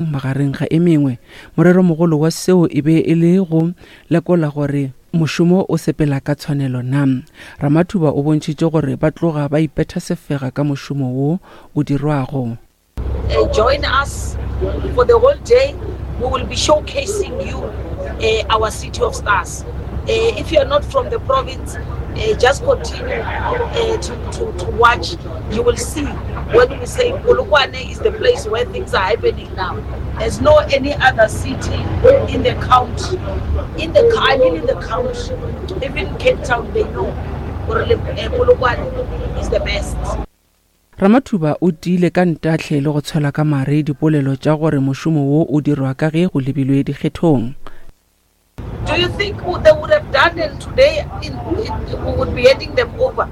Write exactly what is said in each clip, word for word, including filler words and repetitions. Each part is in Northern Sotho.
Magareng ga e mengwe, moreromogolo wa seo e be e le go lekola gore mošomo o sepela ka tshwanelo na. Ramathuba o bontšhitše gore ba tloga ba ipetha sefega ka mošomo wo o dirwago. Uh, join us for the whole day. We will be showcasing you uh, our City of Stars. Uh, if you are not from the province, uh, just continue uh, to, to, to watch. You will see when we say Polokwane is the place where things are happening now. There's no any other city in the country. In the I mean in the country, even Cape Town, they know Polokwane is the best. Ramathuba o tiile ka ntahle le go tshwela ka mare dipolelo tša gore mošomo wo o dirwa ka ge go lebilwe dikgethong. Do you think they would have done it today? In, in, we would be handing them over.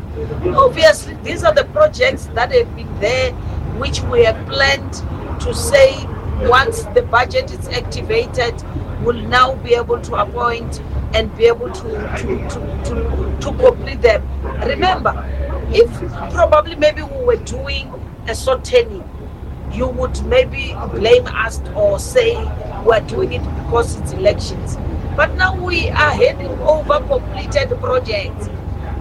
Obviously, these are the projects that have been there, which we have planned to say once the budget is activated, we'll now be able to appoint and be able to, to, to, to, to complete them. Remember, if probably maybe we were doing a short turning, you would maybe blame us or say we're doing it because it's elections. But now we are handing over completed projects.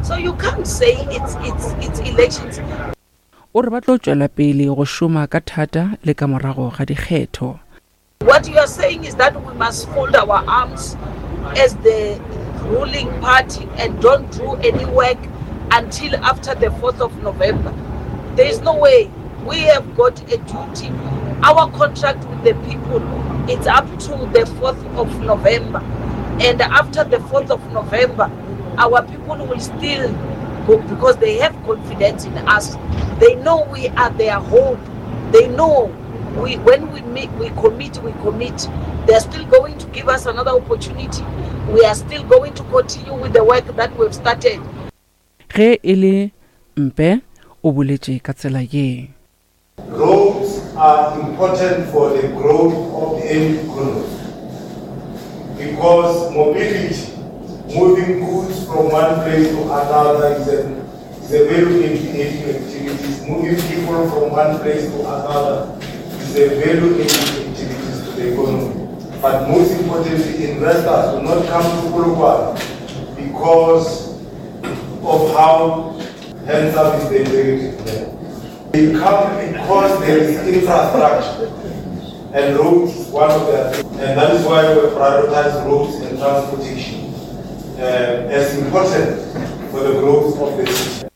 So you can't say it's, it's, it's elections. O re ba tlo tšwela pele go šoma ka thata le ka morago ga dikgetho. What you are saying is that we must fold our arms as the ruling party and don't do any work until after the fourth of November. There is no way. We have got a duty. Our contract with the people, it's up to the fourth of November. And after the fourth of November, our people will still go because they have confidence in us. They know we are their hope. They know we, when we meet, we commit, we commit. They are still going to give us another opportunity. We are still going to continue with the work that we've started. Ge e le Mpe o boletše ka tsela ye. Roads are important for the growth of any economy because mobility, moving goods from one place to another is a, is a value-adding activities. Moving people from one place to another is a value-adding activities to the economy. But most importantly, investors will not come to Polokwane because of how handsome is the executive there. They come because there is infrastructure, and roads is one of the, and that is why we prioritize roads and transportation, uh, as important for the growth of the city.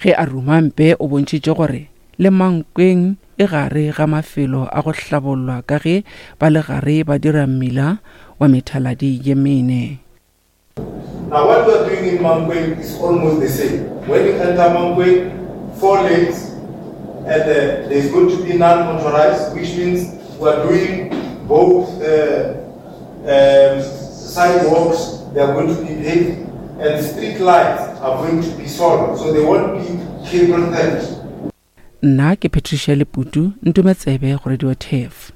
Ge a ruma Mpe o bontšhitše gore le Mankweng e gare ga mafelo a go hlabollwa ka ge ba le gare ba dira mmila wa methaladi ye mene. Now what we are doing in Mankweng is almost the same. When you enter Mankweng, four lanes, and, uh, there is going to be non-motorized, which means we are doing both, uh, um, sidewalks, they are going to be paved, and street lights are going to be solar, so they won't be cable tents. Nna ke Patricia Leputu, ntumetsebe go Radio T F.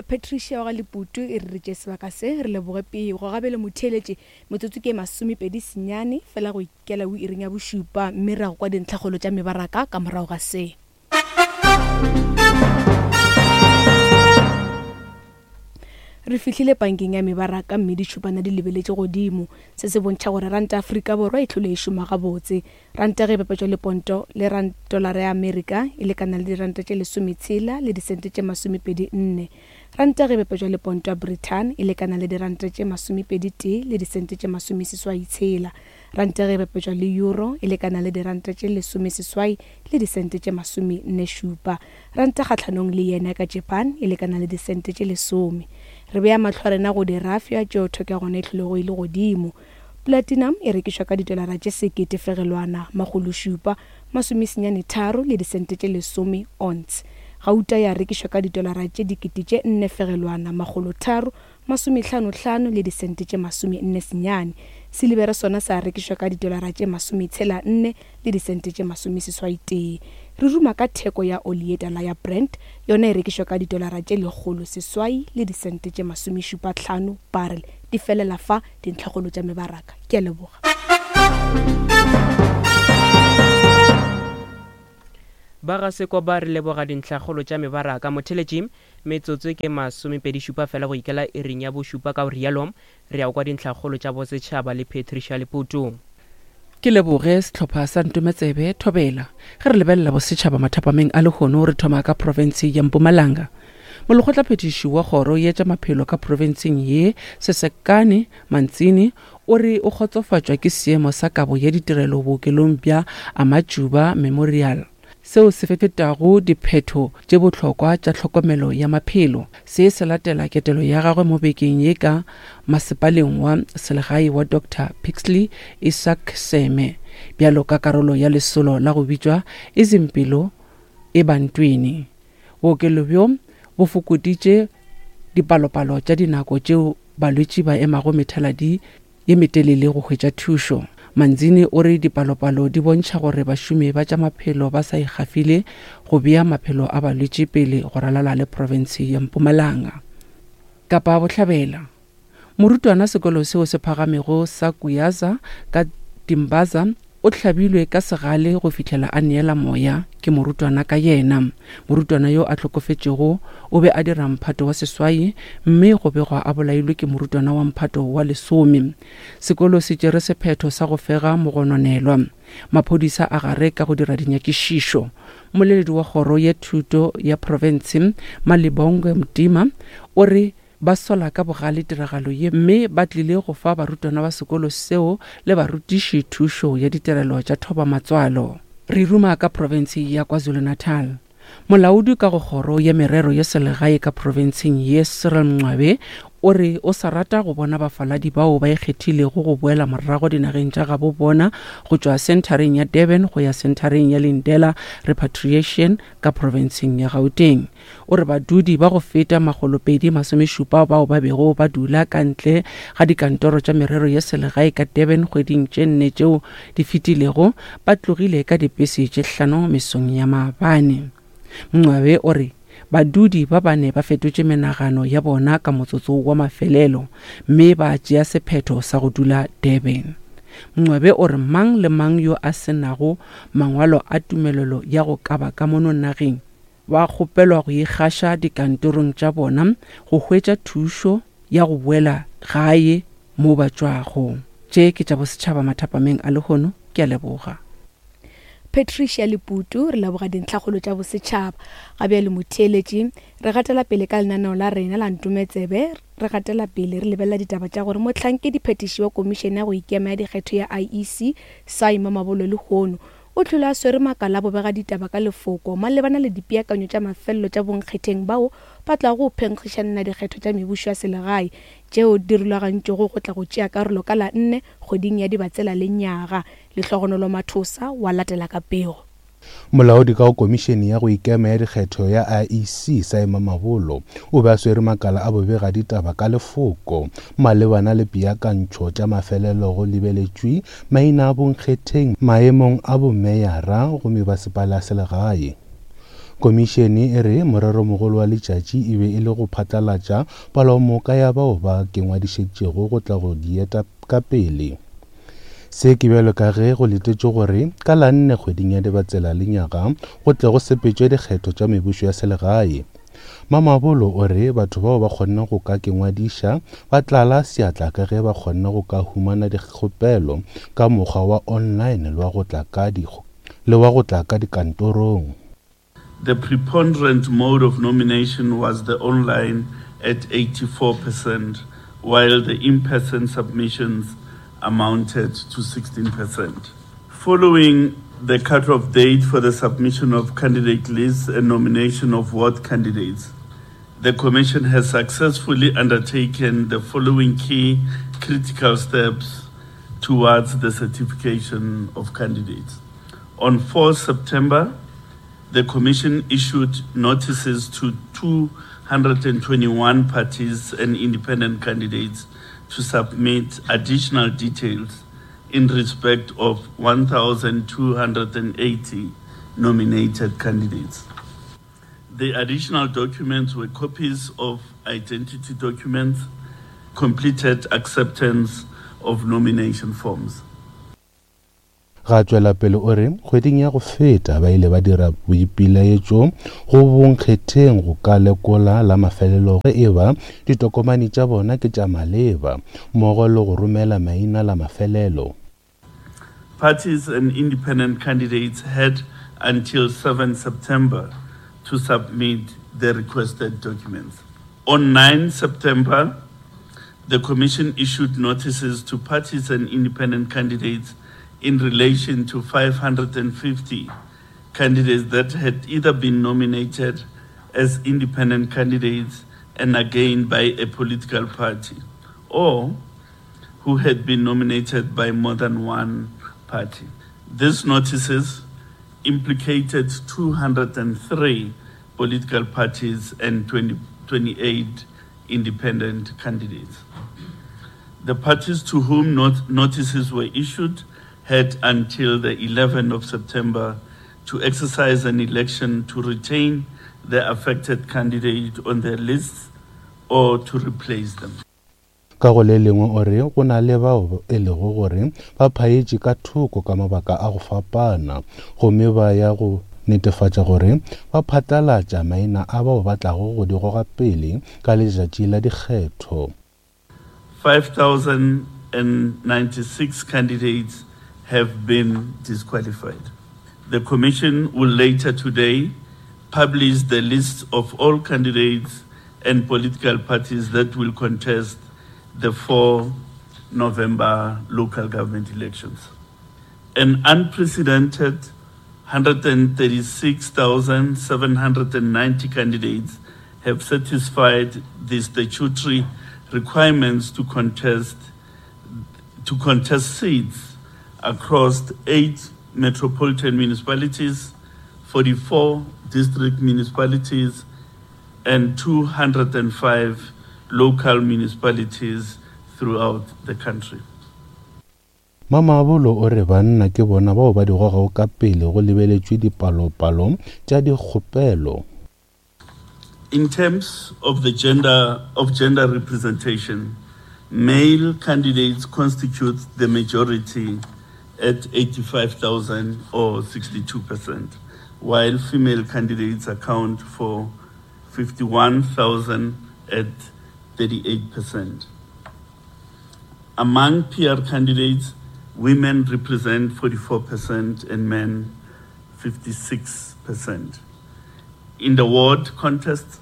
Patricia wa Leputu e re re sebaka se re leboge pego gabele motheletše metsotso ke masomepedi senyane fela go ikela o iring ya bošupa mme ra go kwa dintlhagolo tša mebaraka ka morago ga se. Re fihlile bankeng ya mebaraka mme ditšhupana di lebeletše godimo. Se se bontšha gore ranta Afrika Borwa e tlhole e šoma gabotse. Ranta ge e bapetšwa le ponto le rand dolara ya Amerika e lekana le diranta tše lesometshela le disente tše masomepedi nne. Ranta ge e bapetšwa le ponto ya Britain e lekana le diranta tše masomepedi tee le disente tše masomeseswai tshela. Ranta ge e bapetšwa le euro e lekana le diranta tše lesomeseswai le disente tše masomenne šupa. Ranta kgahlanong le yena ka Japan e lekana le disente tše lesome. Re bea mahlo a rena go dirafia tšeo theko ya gona e hlolego e le godimo. Platinum e rekišwa ka didolara tše sekete fegelwana makgolo šupa masomesenyane tharo le disente tše lesome ounce. Gauta ya rekišwa ka didolara tše dikete tše nne fegelwana makgolo tharo masomehlano hlano le disente tše masome nne senyane. Silibere sona sa rekišwa ka didolara tše masometshela nne le disente tše masomeseswai tee. Re ruma ka theko ya oli ye tala ya Brent, yona e rekišwa ka didolara tše lekgolo seswai le disente tše masomešupa hlano barrel. Di felela fa dintlhagolo tša mebaraka. Ke a leboga. Ba ga sekwa ba re leboga dintlhagolo tša mebaraka. Motheletši, Metsotso ke masomepedi šupa fela go ikela iring ya bošupa, ka go rialo re ya kwa dintlhakgolo tša bosetšhaba le Patricia Leputu. Ke leboge sehlopha sa Ntometsebe Thobela. Ge re lebelela bosetšhaba mathapameng a lehono, re thoma ka profense ya Mpumalanga. Molekgotlaphethiši wa kgoro ya tša maphelo ka profenseng ye, Sesekane Mantsini, o re o kgotsofatšwa ke seemo sa kabo ya ditirelo bookelong bja Amajuba Memorial, seo se fetago diphetho tše bohlokwa tša tlhokomelo ya maphelo. Se se latela ketelo ya gagwe mo bekeng ye ka masepaleng wa selegae wa Doctor Pixley Isaac Seme, bjalo ka karolo ya lesolo la go bitšwa Izimpilo Ebantwini. Bookelo bjo bo fokoditše dipalopalo tša dinako tšeo balwetši ba emago methaladi ye metelele go hwetša thušo. Manzini o re dipalopalo di bontšha gore bašomi ba tša maphelo ba sa ikgafile go bea maphelo a balwetši pele go ralala le profense ya Mpumalanga. Kapa Bohlabela, morutwana sekolo seo se phagamego sa Kuyaza ka Dimbaza o hlabilwe ka segale go fihlela a neela moya ke morutwana ka yena. Morutwana yo a hlokofetšego o be a dira mphato wa seswai, mme go begwa a bolailwe ke morutwana wa mphato wa lesome. Sekolo se tšere sephetho sa go fega mogononelwa. Maphodisa a gare ka go dira dinyakišišo. Mmoleledi wa kgoro ya thuto ya profense Malibongwe Mtima o re ba sola ka bogale tiragalo ye, mme ba tlile go fa barutwana ba sekolo seo le barutiši thušo ya ditirelo tša thoba matswalo. Re ruma ka profense ya KwaZulu-Natal. Molaodi ka go kgoro ya merero ya selegae ka profenseng ye, Cyril Mncwabe, o re o sa rata go bona bafaladi bao ba ikgethilego go boela morago dinageng tša gabo bona go tšwa senthareng ya Durban go ya senthareng ya Lindela Repatriation ka profenseng ya Gauteng. O re badudi ba go feta makgolopedi masomešupa bao ba bego ba dula ka ntle ga dikantoro tša merero ya selegae ka Durban kgweding tše nne tšeo di fetilego ba tlogile ka dipese tše hlano mesong ya maabane. Mncwabe o re badudi ba bane ba fetotše menagano ya bona ka motsotso wa mafelelo, mme ba tšea sephetho sa go dula Durban. Mncwabe o re mang le mang yo a senago mangwalo a tumelelo ya go kaba ka mono nageng ba kgopelwa go ikgaša dikantorong tša bona go hwetša thušo ya go boela gae mo ba tšwago. Tše ke tša bosetšhaba mathapameng a lehono. Ke a leboga. Patricia Leputu, re leboga dintlhakgolo tša bosetšhaba. Ga bjale motheeletši, re gatela pele ka lenaneo la rena la Ntometsebe. Re gatela pele re lebelela ditaba tša gore mohlankedi phetiši wa komišene ya go ikema ya dikgetho ya I E C, Sy Mamabolo, lehono o tlhole a swere makala a bobega ditaba ka lefoko malebana le dipeakanyo tša mafelelo tša bonkgetheng bao ba tlago go phenkgišanela dikgetho tša mebušo ya selegae tšeo di rulagantšwego go tla go tšea karolo ka la nne kgweding ya Dibatsela le nyaga. Lehlogonolo Mathosa wa latela ka pego. Molaodi ka go komišene ya go ikema ya dikgetho ya I E C, Sy Mamabolo, o be a swere makala a bobega ditaba ka lefoko malebana le peakantšho tša mafelelo go lebeletšwe maina a bonkgetheng maemong a bomeyara go mebasepala ya selegae. Komišene e re moreromogolo wa letšatši e be e le go phatlalatša palomoka ya bao ba kengwadišetšego go tla go dieta ka pele. Se ke bjalo ka ge go letetšwe gore ka la nne kgweding ya Dibatsela le nyaga go tle go sepetšwe dikgetho tša mebušo ya selegae. Mamabolo o re batho bao ba kgonne go ka kengwadiša ba tlala seatla ka ge ba kgonne go ka humana dikgopelo ka mokgwa wa online le wa go tla ka dikgo-, le wa go tla ka dikantorong. The preponderant mode of nomination was the online at eighty-four percent, while the in-person submissions amounted to sixteen percent. Following the cutoff date for the submission of candidate lists and nomination of ward candidates, the Commission has successfully undertaken the following key critical steps towards the certification of candidates. On fourth September, the Commission issued notices to two hundred and twenty-one parties and independent candidates to submit additional details in respect of one thousand two hundred and eighty nominated candidates. The additional documents were copies of identity documents, completed acceptance of nomination forms. Ga tšwela pele o re kgweding ya go feta ba ile ba dira boipilaetšo go bonkgetheng go ka lekola la mafelelo ge e ba ditokomane tša bona ke tša maleba mmogo le go romela maina la mafelelo. Parties and independent candidates had until seventh September to submit the requested documents. On ninth September, the Commission issued notices to parties and independent candidates in relation to five hundred fifty candidates that had either been nominated as independent candidates and again by a political party, or who had been nominated by more than one party. These notices implicated two hundred three political parties and twenty, twenty-eight independent candidates. The parties to whom not notices were issued had until the eleventh of September to exercise an election to retain the affected candidate on their lists or to replace them. Ka go le lengwe o re go na le bao e lego gore ba phaetše ka thoko ka mabaka a go fapana gomme ba ya go netefatša gore ba phatlalatša maina a bao ba tlago go di goga pele ka letšatši la dikgetho. five thousand ninety-six candidates have been disqualified. The Commission will later today publish the list of all candidates and political parties that will contest the fourth November local government elections. An unprecedented hundred thirty-six thousand seven hundred ninety candidates have satisfied the statutory requirements to contest, to contest seats across eight metropolitan municipalities, forty-four district municipalities, and two hundred five local municipalities throughout the country. Mamabolo o re banna ke bona bao ba di gogago ka pele go lebeletšwe dipalopalo tša dikgopelo. In terms of the gender of gender representation, male candidates constitute the majority at eighty-five thousand or sixty-two percent, while female candidates account for fifty-one thousand at thirty-eight percent. Among P R candidates, women represent forty-four percent and men fifty-six percent. In the ward contest,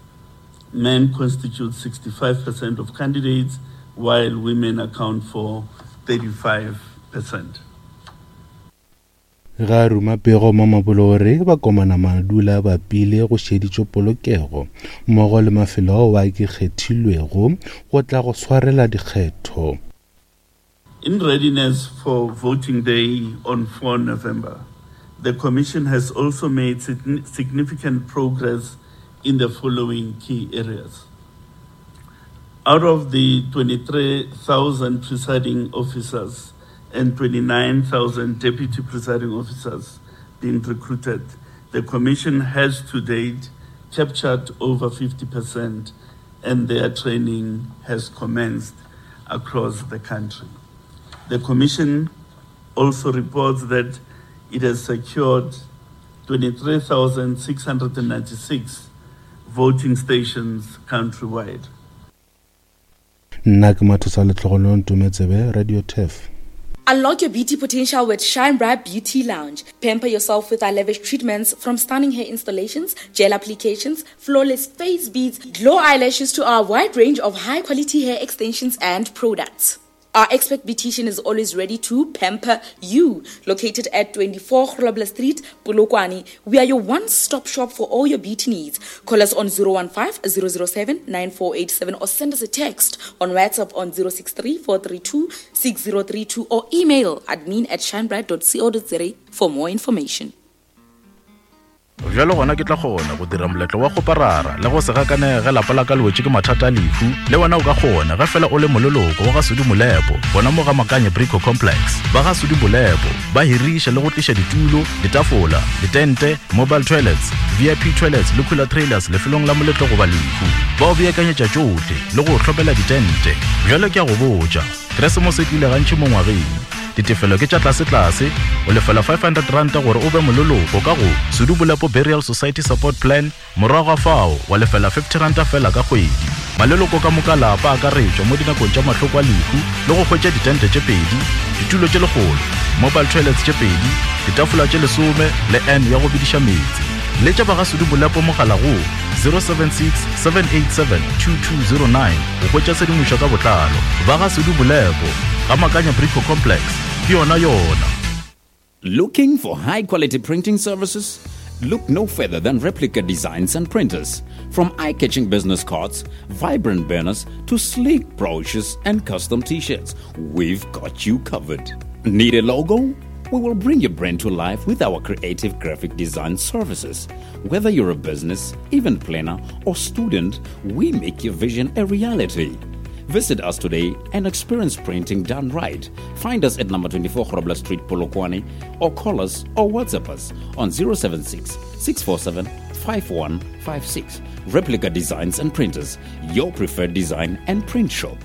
men constitute sixty-five percent of candidates, while women account for thirty-five percent. Ga ruma pego Mamabolo o re bakomana madula ba pile go šeditšwe polokego mmogo le mafelo ao a ke kgethilwego go tla go swarela dikgetho. In readiness for voting day on fourth November, the Commission has also made significant progress in the following key areas. Out of the twenty-three thousand presiding officers and twenty-nine thousand deputy presiding officers being recruited, the Commission has to date captured over fifty percent and their training has commenced across the country. The Commission also reports that it has secured twenty-three thousand six hundred ninety-six voting stations countrywide. Nna ke Mathosa Letlhogonolo Ntometsebe, Radio Turf. Unlock your beauty potential with Shine Bright Beauty Lounge. Pamper yourself with our lavish treatments, from stunning hair installations, gel applications, flawless face beads, glow eyelashes to our wide range of high-quality hair extensions and products. Our expert beautician is always ready to pamper you. Located at twenty-four Grobler Street, Polokwane, we are your one-stop shop for all your beauty needs. Call us on zero one five, zero zero seven, nine four eight seven or send us a text on WhatsApp on zero six three, four three two, six zero three two or email admin at shinebright dot co dot za for more information. Bjalo gona ke tla kgona go dira moletlo wa go parara le go se gakanege lapa la ka le wetše ke mathata a lehu. Le wena o ka kgona ge fela o le moleloko wa ga Sudi Molepo, gona mo ga Makanye Brico Complex. Ba ga Sudi Molepo ba hiriša le go tliša ditulo, ditafola, ditente, mobile toilets, V I P toilets le cooler trailers lefelong la moletlo goba lehu. Ba o beakanyetša tšohle le go hlopela ditente. Bjalo ke a go botša, Keresemose e tlile gantši mo ngwageng. Ditefelo ke tša tlasetlase, o lefela five hundred ranta gore o be moleloko ka go Sudu Bolepo Burial Society Support Plan, morago ga fao wa lefela fifty ranta fela ka kgwedi. Maleloko ka moka lapa a akaretšwa mo dinakong tša mahloko a lehu le go hwetša ditente tše pedi, ditulo tše lekgolo, mobile toilets tše pedi, ditafola tše lesome le N ya go bidiša meetse. Letša ba ga Sudu Bolepo mogala go zero seven six, seven eight seven, two two zero nine go hwetša tshedimošo ka botlalo. Ba ga Sudu Bolepo, ga Makanya Brico Complex, ke yona yona. Looking for high quality printing services? Look no further than Replica Designs and Printers. From eye-catching business cards, vibrant banners, to sleek brochures and custom t-shirts, we've got you covered. Need a logo? We will bring your brand to life with our creative graphic design services. Whether you're a business, event planner, or student, we make your vision a reality. Visit us today and experience printing done right. Find us at number twenty-four Grobler Street, Polokwane, or call us or WhatsApp us on zero seven six, six four seven, five one five six. Replica Designs and Printers, your preferred design and print shop.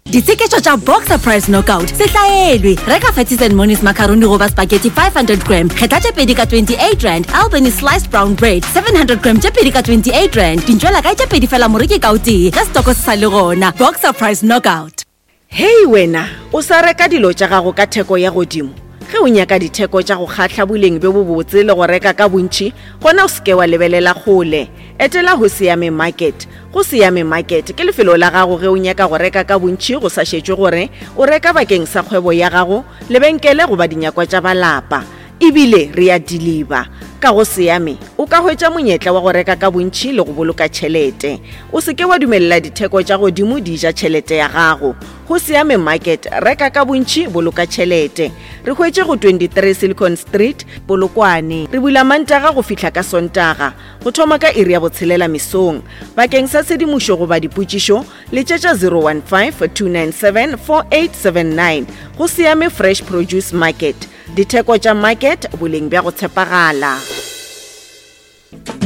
Ditseketšo tša Boxer Price Knockout se hlaelwe. Reka Fatties and Monies macaroni goba spaghetti five hundred gram, kgetha tše pedi ka twenty-eight rand. Albany sliced brown bread seven hundred gram tše pedi ka twenty-eight rand. Dintšwela kae tše pedi fela moreki ka o tee, ge setoko se sa le gona. Boxer Price Knockout. Hei wena, o sa reka dilo tša gago ka theko ya godimo. Ge o nyaka ditheko tša go kgahla boleng bjo bobotse le go reka ka bontši, gona o seke wa lebelela kgole. Etela go Siame Market. Go Siame Market ke lefelo la gago ge o nyaka go reka ka bontši go sa šetšwe gore o reka bakeng sa kgwebo ya gago, lebenkele goba dinyakwa tša balapa. Ebile re a deliver. Ka go Siame o ka hwetša monyetla wa go reka ka bontši le go boloka tšhelete. O seke wa dumelela ditheko tša godimo di ja tšhelete ya gago. Go Siame Market, reka ka bontši, boloka tšhelete. Re hwetše go twenty-three Silicon Street, Polokwane. Re bula Mantaga go fihla ka Sontaga, go thoma ka iri ya botshelela mesong. Bakeng sa tshedimošo goba dipotšišo, letšetša zero one five, two nine seven, four eight seven nine. Go Siame Fresh Produce Market. Ditheko tša market, boleng bja go tshepagala.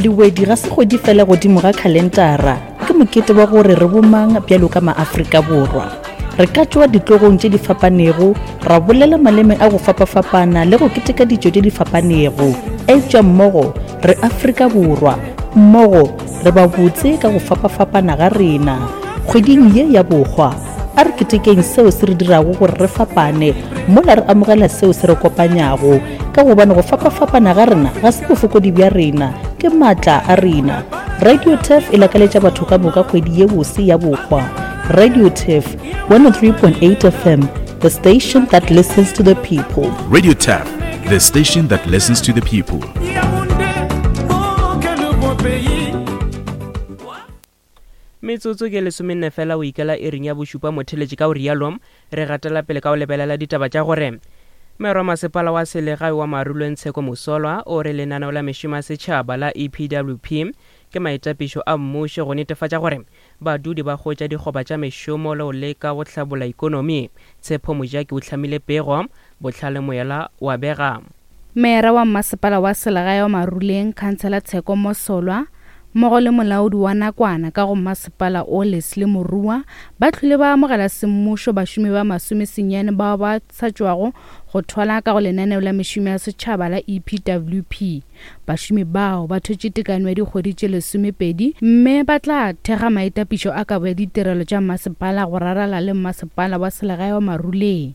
Lewedi ga se kgwedi fela godimo ga khalentara, ke mokete wa gore re bomang bjalo ka maAfrika Borwa. Re ka tšwa ditlogong tše di fapanego, ra bolela maleme a go fapafapana le go keteka ditšo tše di fapanego. Eupša mmogo re Afrika Borwa, mmogo re ba botse ka go fapafapana ga rena. Kgweding ye ya bohwa, a re ketekeng seo se re dirago gore re fapane, mola re amogela seo se re kopanyago, ka gobane go fapafapana ga rena ga se bofokodi bja rena, ke maatla a rena. Radio Turf e lakaletša batho ka moka kgwedi ye bose ya bohwa. Radio Turf one oh three point eight F M, the station that listens to the people. Radio Turf, the station that listens to the people. Metsotso ke lesomenne fela o ikela iring ya bošupa motheletši ka o rialo, re gatela pele ka o lebelela ditaba tša gore Mayor wa masepala wa selegae wa Maruleng Tsheko Mosolwa o re lenaneo la mešomo ya setšhaba la E P W P ke maitapišo a mmušo go netefatša gore badudi ba hwetša dikgoba tša mešomo le go leka go hlabolla ikonomi. Tshepo Mojaki o hlamile pego, Bohlale Moyela wa bega. Meyara wa masepala wa selegae wa Maruleng, Councillor Tsheko Mosolwa, mmogo le molaodi wa nakwana ka go masepala o Leslie Morua, ba tlhole ba amogela semmušo bašomi ba masomesenyane bao ba sa tšwago go thwala ka go lenaneo la mešomo ya setšhaba la E P W P. Bašomi bao ba thwetše tekano ya dikgwedi tše lesomepedi mme ba tla thekga maitapišo a kabo ya ditirelo tša masepala go rarala le masepala wa selegae wa Maruleng.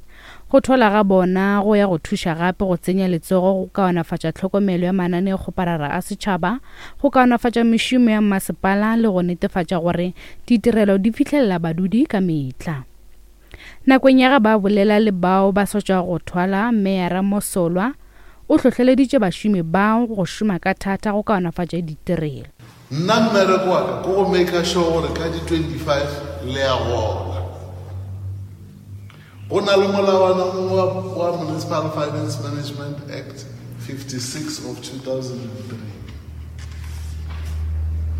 Go thwala ga bona go ya go thuša gape go tsenya letsogo go kaonafatša tlhokomelo ya mananeokgoparara a setšhaba, go kaonafatša mešomo ya masepala le go netefatša gore ditirelo di fihlelela badudi ka mehla. Nakong ya ge ba bolela le bao ba sa tšwago go thwala, Meyara Mosolwa o hlohleleditše bašomi bao go šoma ka thata go kaonafatša ditirelo. Nna mmereko wa ka ke go make sure gore ka di twenty-five le a gola. Go na le molawana mongwe wa Municipal Finance Management Act fifty-six of two thousand three.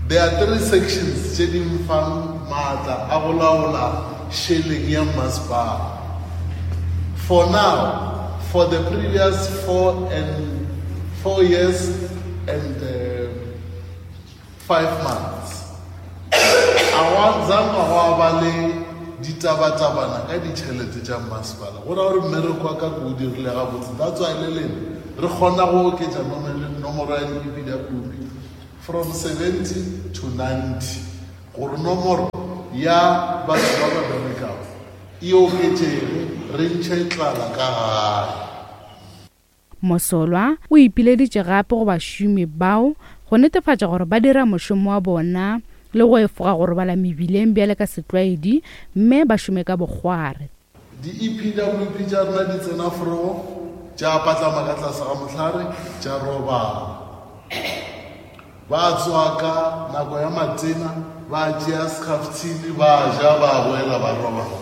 There are three sections tše di mfang maatla a go laola šeleng ya masepala. For now, for the previous four and four years and uh, five months, a wa zanga wa ba le ditabatabana ka ditšhelete tša mmasepala, go ra gore mmereko wa ka ke o dirile gabotse. That's why le lena re kgona go oketša nomoro ya di-E P W P from seventy to ninety, gore nomoro ya batho ba ba berekago e oketšege, re ntšhe tlala ka gae. Mosolwa o ipileditše gape go bašomi bao go netefatša gore ba dira mošomo wa bona le go efoga go robala mebileng bjale ka setlwaedi mme ba šome ka bokgware. Di-E P W P tša rena di tsena forogo, tša patlama ka tlase ga mohlare, tša robala. Ba tswa ka nako ya matena, ba tšea scaftini, ba ja, ba boela ba robala.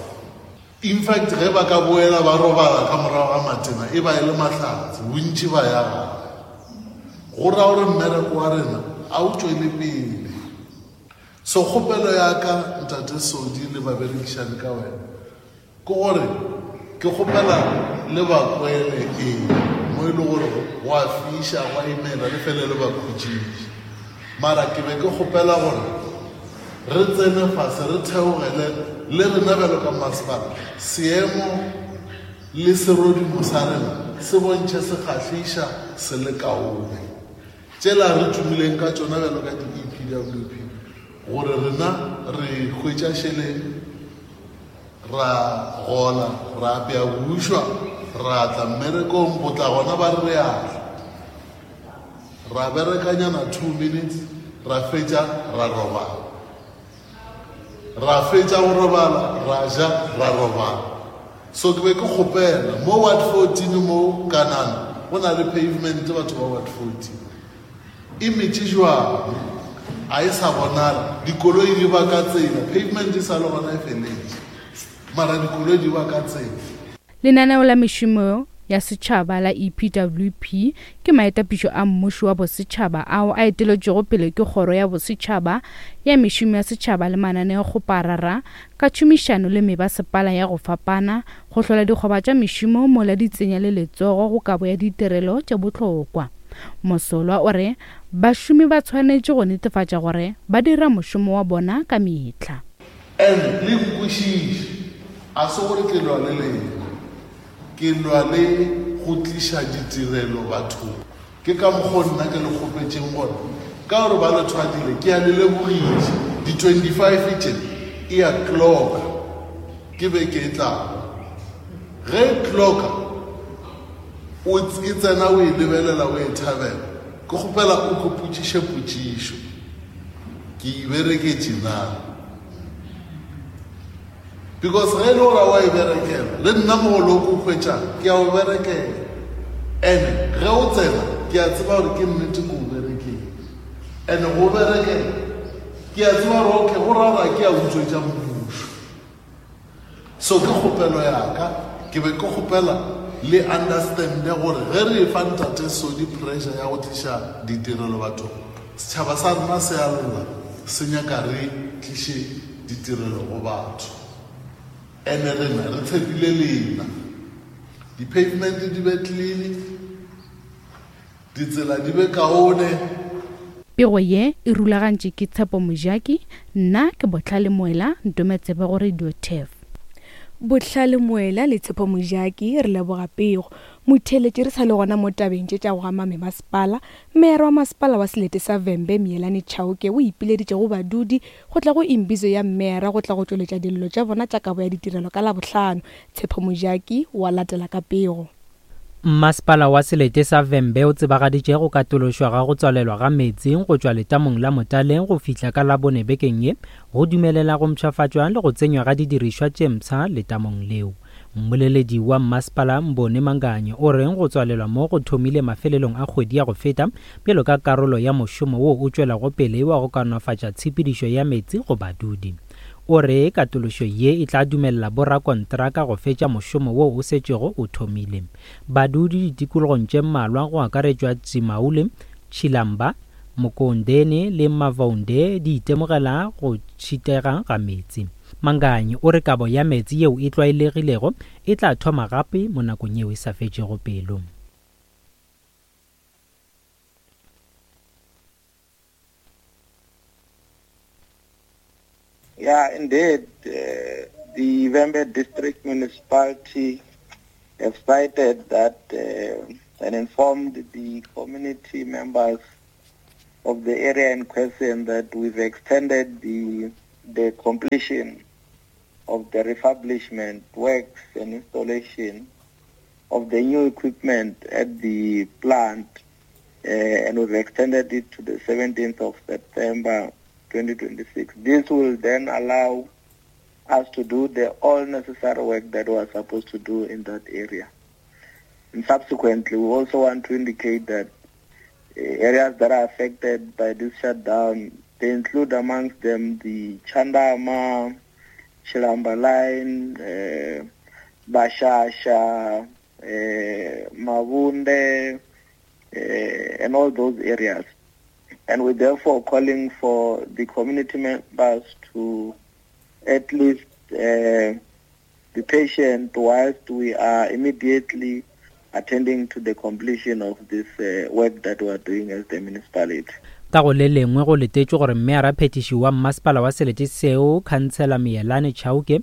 In fact, ge ba ka boela ba robala ka morago ga matena, e ba e le mahlatse, bontši ba ya gae. Go ra gore mmereko wa rena a o tšwele pele. So kgopelo ya ka ntate Sodi le baberekišane ka wena ke gore ke kgopela le ba kwele eng mo e le gore go a fiša, go a imela, le fele le ba khutšiše. Mara ke be ke kgopela gore re tsene fase, re theogele le rena bjalo ka masepala, seemo le serodimo sa rena se bontšhe se kgahliša, se le kaone. Tšela re tumileng ka tšona bjalo ka di-E P W P, gore rena re hwetša šeleng, ra gola, ra apea bušwa, ra tla mmerekong, go tla gona ba re re a tla. Ra berekanyana two minutes, ra fetša, ra robala. Ra fetša go robala, ra ja, ra robala. So ke be ke kgopela mo ward fourteen mo Kanana, go na le pavement batho ba ward fourteen. E metše jwang? A e sa bonala, dikoloi di ba ka tsela, pavement e sa le gona e feletše, mara dikoloi di ba ka tsela. Lenaneo la mešomo ya setšhaba la E P W P ke maetapišo a mmušo wa bosetšhaba ao a eteletšwego pele ke kgoro ya bosetšhaba ya mešomo ya setšhaba le mananeokgoparara ka tšhomišano le mebasepala ya go fapana go hlola dikgoba tša mešomo mola di tsenya le letsogo go kabo ya ditirelo tše bohlokwa. Mosolwa o re bašomi ba tshwanetše go netefatša gore ba dira mošomo wa bona ka mehla. And le nkwešiše, a se gore ke lwa le lena, ke lwa le go tliša ditirelo bathong. Ke ka mokgwa nna ke le kgopetšeng gore ka gore ba le thwadile, ke a le lebogiša. Di twenty-five tše e a clocka, ke be ke e tlago. Ge e clocka, o e tsena o e lebelela, o e thabela, ke kgopela o ko potšiše potšišo, ke e bereketše na? Because ge e le gore wa e berekela, le nna mogolo o ko hwetšang, ke a o berekela. And ge o tsena, ke a tseba gore ke nnete ke o berekela. And go berekela, ke a tseba gore okay, go ra gore ke a utswetša mmušo. So ke kgopelo ya ka, ke be ke kgopela le understande gore ge re e fa ntate Sodi pressure ya go tliša ditirelo bathong, setšhaba sa rena se a lla, se nyaka re tliše ditirelo go batho. Ene rena re tshepile lena. Di-pavement di be clean, ditsela di be kaone. Pego ye e rulagantše ke Tshepo Mojaki, nna ke Botlhale Moela, ntometsebe go Radio T E F. Botlhale Moela le Tshepo Mojaki re leboga pego. Motheeletši re sa le gona mo tabeng tše tša go ama memasepala. Meyara wa masepala wa selete sa Vhembe Mielani Chauke o ipileditše go badudi go tla go imbizo ya meyara go tla go tšweletša dillo tša bona tša kabo ya ditirelo ka Labohlano. Tshepo Mojaki wa latela ka pego. Mmasepala wa selete sa Vhembe o tsebagaditše go katološwa ga go tswalelwa ga meetse go tšwa letamong la Motaleng go fihla ka Labone bekeng ye, go dumelela go mpshafatšwa le go tsenywa ga didirišwa tše mpsha letamong leo. Mmoleledi wa mmasepala Mbone Manganye o reng go tswalelwa mo go thomile mafelelong a kgwedi ya go feta bjalo ka karolo ya mošomo wo o tšwelago pele wa go kaonafatša tshepedišo ya meetse go badudi. O re katološo ye e tla dumelela borakontraka go fetša mošomo wo o setšego o thomile. Badudi ditikologong tše mmalwa go akaretšwa Tsimaule, Tshilamba, Mokondene le Mavaunde di itemogela go tšhitega ga meetse. Manganyi o re kabo ya meetse yeo e tlwaelegilego e tla thoma gape mo nakong yeo e sa fetšego pelo. Yeah, indeed. Uh, The Vhembe District Municipality have cited that uh, and informed the community members of the area in question that we've extended the, the completion of the refurbishment works and installation of the new equipment at the plant, uh, and we've extended it to the seventeenth of September twenty twenty-six. This will then allow us to do the all necessary work that we are supposed to do in that area. And subsequently, we also want to indicate that uh, areas that are affected by this shutdown, they include amongst them the Chandama, Chilamba Line, uh, Bashasha, uh, Mavunde, uh, and all those areas. And we're therefore calling for the community members to at least uh, be patient whilst we are immediately attending to the completion of this uh, work that we are doing as the municipality. Ka go le lengwe go letetšwe gore mmeara phetiši wa mmasepala wa selete seo Khansela Mielane Chauke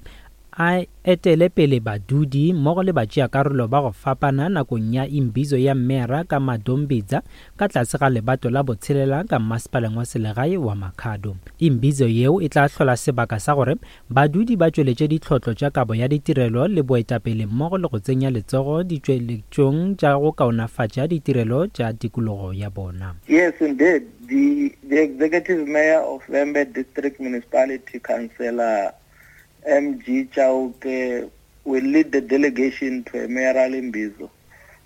a etele pele badudi mmogo le batšeakarolo ba go fapana nakong ya imbizo ya mmeara ka Madombidza ka tlase ga lebato la botshelela ka mmasepaleng wa selegae wa Makhado. Imbizo yeo e tla hlola sebaka sa gore badudi ba tšweletše ditlhotlo tša kabo ya ditirelo le boetapele mmogo le go tsenya letsogo ditšweletšong tša go kaonafatša ditirelo tša tikologo ya bona. Yes, indeed. The, the executive mayor of Vhembe District Municipality, Councillor M G Chauke, will lead the delegation to a mayoral imbizo,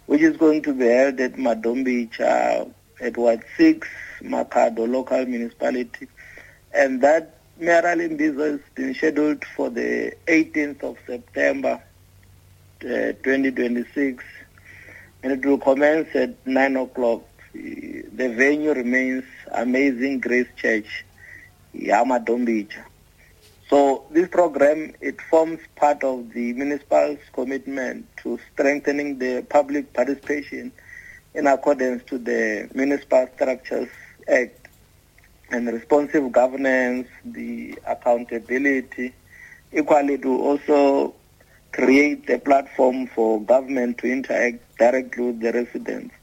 which is going to be held at Madombicha at Ward six, Makhado local municipality. And that mayoral imbizo has been scheduled for the eighteenth of September, uh, twenty twenty-six, and it will commence at nine o'clock. The venue remains Amazing Grace Church, Madombicha. So this program, it forms part of the municipal's commitment to strengthening the public participation in accordance to the Municipal Structures Act and responsive governance, the accountability. Equally, it will also create a platform for government to interact directly with the residents,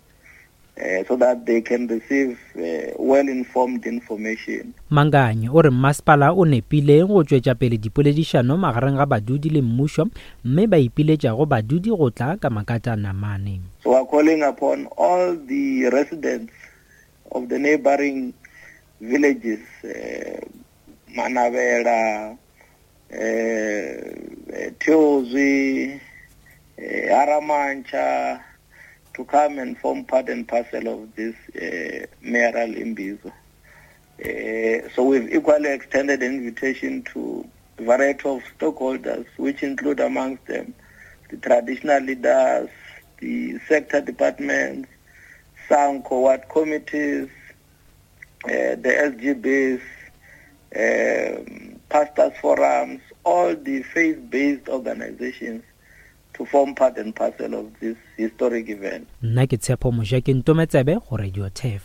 Uh, so that they can receive uh, well-informed information. Manganyi o re mmasepala o nepile go tšwetša pele dipoledišano magareng ga badudi le mmušo mme ba ipiletša go badudi go tla ka makatana mane. So we are calling upon all the residents of the neighboring villages, uh, Manavela, uh, Teozwi, uh, Haramancha, to come and form part and parcel of this uh, mayoral imbizo. Uh, so we've equally extended an invitation to a variety of stakeholders, which include amongst them the traditional leaders, the sector departments, SANCO ward committees, uh, the S G Bs, um, pastors forums, all the faith-based organizations to form part and parcel of this historic event. Nna ke Tshepo Mojaki Ntometsebe go Radio Turf.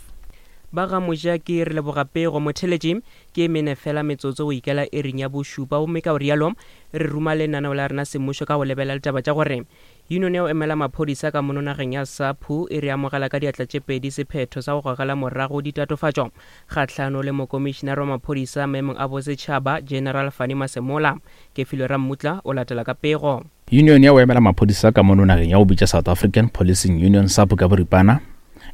Ba ga Mojaki re leboga pego motheletši ke mene fela metsotso go ikela ering ya bošupa gomme ka o rialo re ruma lenaneo la rena semmušo ka go lebelela ditaba tša gore union ya go emela maphodisa ka mono nageng ya SAPU e re amogela ka diatla tše pedi sephetho sa go gogela morago ditatofatšo kgahlano le mokomišenare wa maphodisa maemong a bosetšhaba General Fannie Masemola. Kefilwe Rammutla o latela ka pego. Union ya go emela maphodisa ka mono nageng ya go bitša South African Policing Union SAPU ka boripana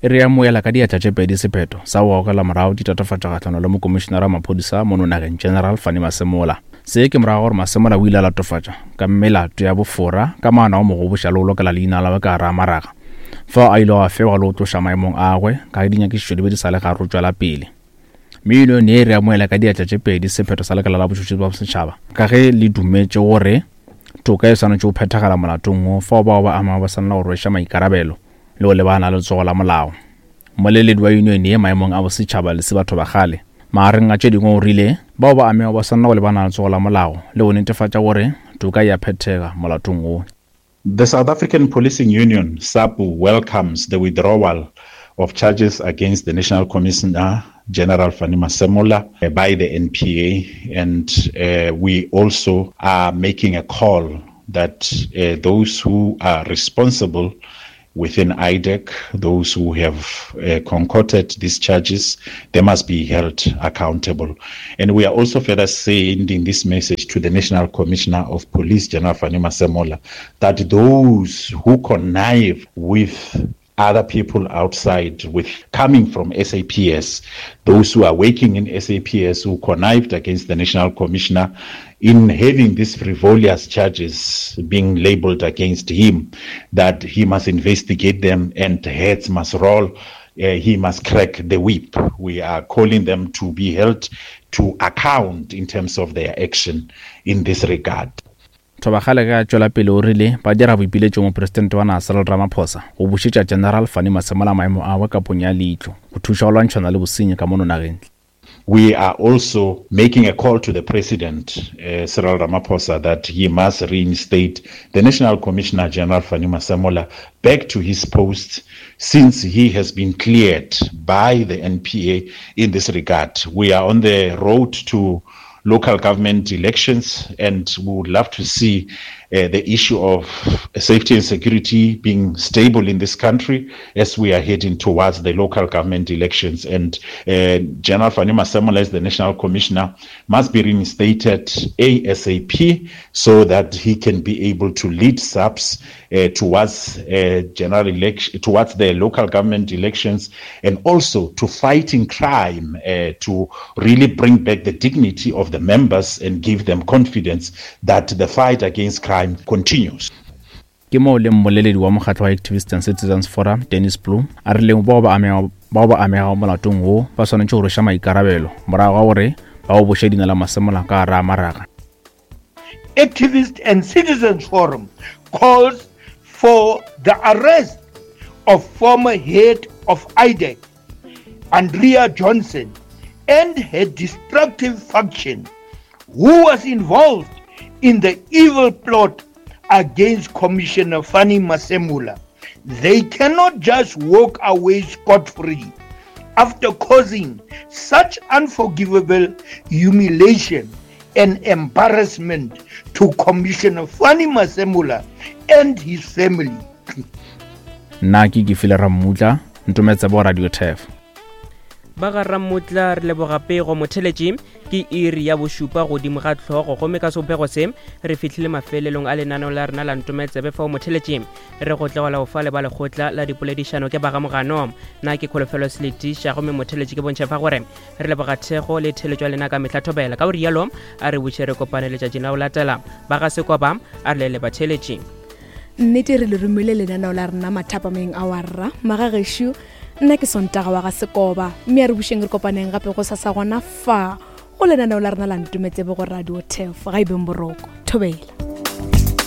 e re amoela ka diatla tše pedi sephetho sa go gogela morago ditatofatšo kgahlano le mokomišenare wa maphodisa mono nageng General Fannie Masemola. Se ke morago gore Masemola o ile a latofatša ka melato ya bofora ka maano a mo goboša le go lokela leina la ka gare a maraga fao a ile a fewa le go tloša maemong a gagwe ka ge dinyakišišo di be di sa le gare go tšwela pele. Mme union ye e re amoela ka diatla tše pedi sephetho sa lekala la botšhotšhisi bja setšhaba ka ge le dumetše gore toka e swanetše go phethagala molatong wo fao bao ba amago ba swanela go rweša maikarabelo le go lebana le letsogo la molao. Mmoleledi wa union ye maemong a bosetšhaba le se batho ba kgale magareng a tše dingwe o rile bao ba amego ba swanela go lebana le letsogo la molao le go netefatša gore toka e a phethega molatong wo. The South African Policing Union, SAPU, welcomes the withdrawal of charges against the National Commissioner General Fannie Masemola uh, by the N P A, and, uh, we also are making a call that, uh, those who are responsible within I D E C, those who have, uh, concocted these charges, they must be held accountable. And we are also further sending this message to the National Commissioner of Police, General Fannie Masemola, that those who connive with other people outside, with coming from S A P S, those who are working in S A P S who connived against the National Commissioner in having these frivolous charges being labeled against him, that he must investigate them and heads must roll. Uh, he must crack the whip. We are calling them to be held to account in terms of their action in this regard. Thobakgale ge a tšwela pele o rile ba dira boipiletšo mopresidente wa naga Cyril Ramaphosa go bušetša General Fannie Masemola maemo agwe ka ponyo ya leihlo go thuša go lwantšhana le bosenyi ka mono nageng. We are also making a call to the President, uh, Cyril Ramaphosa, that he must reinstate the National Commissioner General Fannie Masemola back to his post, since he has been cleared by the N P A in this regard. We are on the road to local government elections, and we would love to see, uh, the issue of safety and security being stable in this country as we are heading towards the local government elections. And, uh, General Fannie Masemola, as the National Commissioner, must be reinstated A S A P so that he can be able to lead S A P S, uh, towards, uh, general election, towards the local government elections, and also to fighting crime, uh, to really bring back the dignity of the members and give them confidence that the fight against crime continues. Ke moo le mmoleledi wa mokgatlo wa Activists and Citizens Forum, Dennis Bloem, a rileng bao ba amega, bao ba amegago molatong wo ba swanetše go rweša maikarabelo morago ga gore ba o boše leina la Masemola ka gare ga maraga. Activists and Citizens Forum calls for the arrest of former head of I D E C, Andrea Johnson, and her destructive faction, who was involved in the evil plot against Commissioner Fannie Masemola. They cannot just walk away scot-free after causing such unforgivable humiliation and embarrassment to Commissioner Fannie Masemola and his family. Nna ke Kefile Rammutla, ntometse bo Radio T F. Ba ga Rammutla re leboga pego motheletši ke iri ya bošupa godimo ga tlhogo, gomme ka sebopego se re fihlile mafelelong a lenaneo la rena la Ntometsebe fao motheletši re go tlegela go fa le ba lekgotla la dipoledišano ke ba ga Mogano. Nna ke Kholofelo Seletiša, gomme motheletši ke bontšha fa gore re leboga thekgo le theletšo ya lena ka mehla thobela. Ka go rialo a re buše re kopane letšatšing la go latela. Ba ga Sekoba a re le batheletši. Nnete re le romile lenaneo la rena mathapameng a warra magagešo. Nna ke Sontaga wa ga Sekoba, mme a re bušeng re kopaneng gape go sasa gona fa go lenaneo la rena la Ntometsebe go Radio T F. Ga e beng boroko, thobela.